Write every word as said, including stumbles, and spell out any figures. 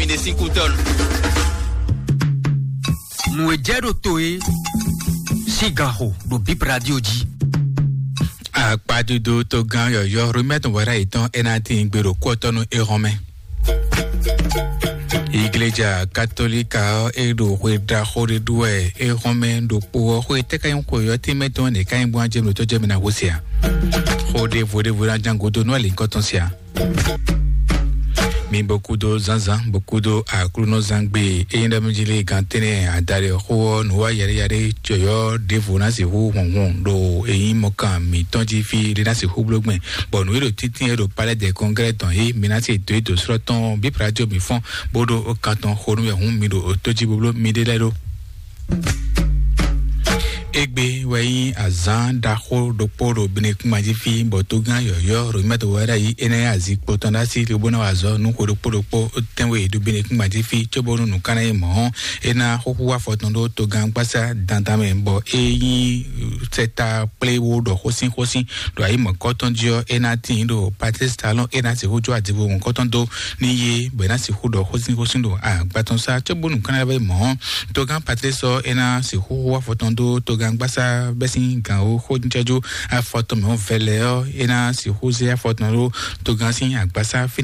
Mine sin kutɔn. Nǔ e jɛ ɖo to e sín ganxo ɖo Bip Radio jí. Akpadodo togán yɔyɔ́ Romɛtɔn wɛrɛ yětɔn é ná tín gbe ɖo kú ɔ́ tɔn nú é hɔn mɛ. Igleja Katolika ɔ́, é ɖo hwe ɖaxó ɖé ɖu wɛ é hɔn mɛ ɖokpó ɔ́. Xwe tɛ́ ka nyí xwe ɔ́ tɛ́nmɛ tɔn nɛ̌ ka nyí bó ná jɛ mɛ ɖo tɔ́ jɛ mɛ ná hó se a? Xó ɖěvo ɖěvo ná ján gúdo nú alǐnkɔtɔn se a? Mi bó kúdó zǎnzǎn, bó kúdó Aklúnɔzán gbe. Ényí ɖɔ mí jí lé gán tɛ́nɛ adaɖɛ xó ɔ́, nǔ wa yɛɖé yɛɖé cɔyɔ́ ɖěvo ná sixú hunhun ɖo èyí mɔkan mǐtɔn jí fí ɖé ná sixú bló gbɛn. Bɔ nǔ e ɖo tíntín e ɖo Palais des Congrès tɔn é, mi ná se dó e dǒ slɔ́ tɔn bí Prajo mi fɔ́n, bó ɖó kan tɔn xo nú wɛ hǔn mi ɖo tó jí bó bló miɖée lɛ́ɛ ɖó. Égbé wɛ nyí azǎn ɖaxó ɖokpó ɖo Benekúnma jí fí, bɔ tógán yɔ̌yɔ́ Romɛ́to wɛ ɖ'ayǐ é ná nyí azikpo tɔn ɖ'así lobo ná wa azɔ̌ nú xwe ɖokpó ɖokpó tɛ́nwe ɖo Benekúnma jí fí, cóbónú nǔ ká ná nyí mɔ̌, é ná xúxú afɔ tɔn ɖó tógán gbásá dandan mɛ, bɔ é nyí sɛta kplé wó ɖɔ xósín xósín ɖo ayǐ mɔ̌kɔ́ tɔn jí ɔ́, é ná tíin ɖo Patrice Talon, é ná sixú jó adivo mɔ̌kɔ́ tɔn dó ní yé, bɔ é ná sixú ɖɔ xósín xósín ɖo agba tɔn sá, cóbónú nǔ ká ná vɛ́ mɔ̌. Tógán Patrice ɔ́, é ná sixú xú afɔ tɔn dó tógán gbásá bɛ́ sín gǎn ó xó jɛ́jú afɔ tɔn mɛ ɔ́ vɛlɛ ɔ́, é ná sixú zé afɔ tɔn ɖó tógán sín agbásá fínɛ́.